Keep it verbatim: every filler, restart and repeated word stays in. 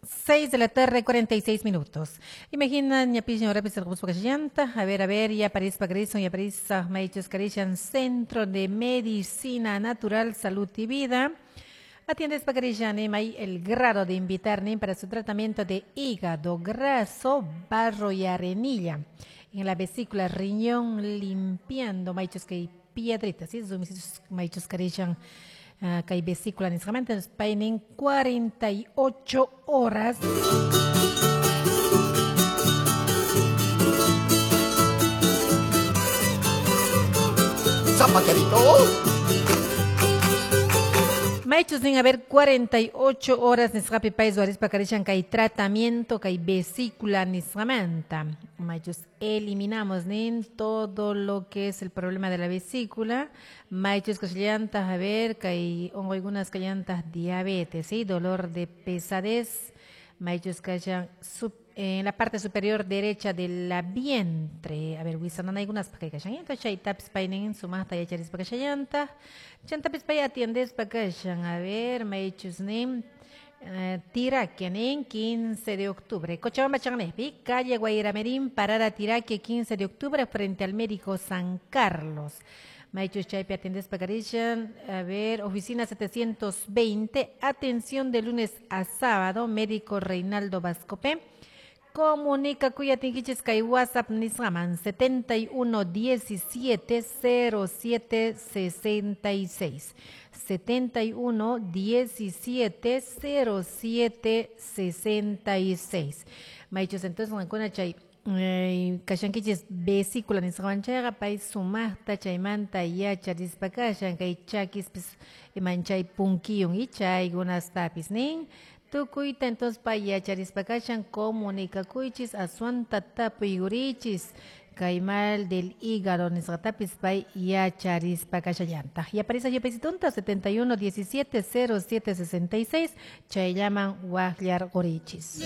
Seis de la tarde, cuarenta y seis minutos. Imaginan, ya pisin, ahora pisin, llanta. A ver, a ver, ya París, Pagrison, ya París, Maichos, Carishan, Centro de Medicina Natural, Salud y Vida. Atiendes Pacarishan, hay el grado de invitarme para su tratamiento de hígado graso, barro y arenilla. En la vesícula, riñón, limpiando, maichos que piedritas, ¿sí? Maichos Carishan. Uh, kay vesícula nisqamanta paynin cuarenta y ocho horas. Zapaterito. Maichus nin a ver cuarenta y ocho horas nisqapi pay ruwarispa karishan kay tratamiento kay vesícula nisqamanta. Maichus eliminamos nin todo lo que es el problema de la vesícula. Maichus kashallantas a ver kay onquykunas kallantas diabetes, ¿sí? Dolor de pesadez. Maichus kashan sub en la parte superior derecha de la vientre. A ver, wisanan algunas pa kay kashallanta, chay tapis paynin sumaqta yacharispa kashallanta. Chantapis pay atiendespa kashan. A ver, maychus nin eh, Tiraque nin quince de octubre. Cochabamba Channespi, calle Guayramerín, parada Tiraque, quince de octubre, frente al médico San Carlos. Maichus chaypi atiendespa karishan. A ver, oficina setecientos veinte, atención de lunes a sábado, médico Reinaldo Vascopé. Comunica cuya tinquichis kay WhatsApp nisqaman setenta y uno diecisiete cero siete sesenta y seis. setenta y uno diecisiete cero siete sesenta y seis. Maichus entonces ancuna chay eh, kashankichis vesícula nisqaman chayqa pay sumaqta chaymanta yacharispa kashan kay chakispis imanchay punkiyun y chaykunastapis nin. Tukuyta entonces pa yacharispa kashan comunicakuychis aswanta tapuykurichis kay mal del hígado nisqatapis pay yacharispa kashallantaq. Y aparece yapaysitunta setenta y uno diecisiete cero siete sesenta y seis chayllaman waqllarqurichis.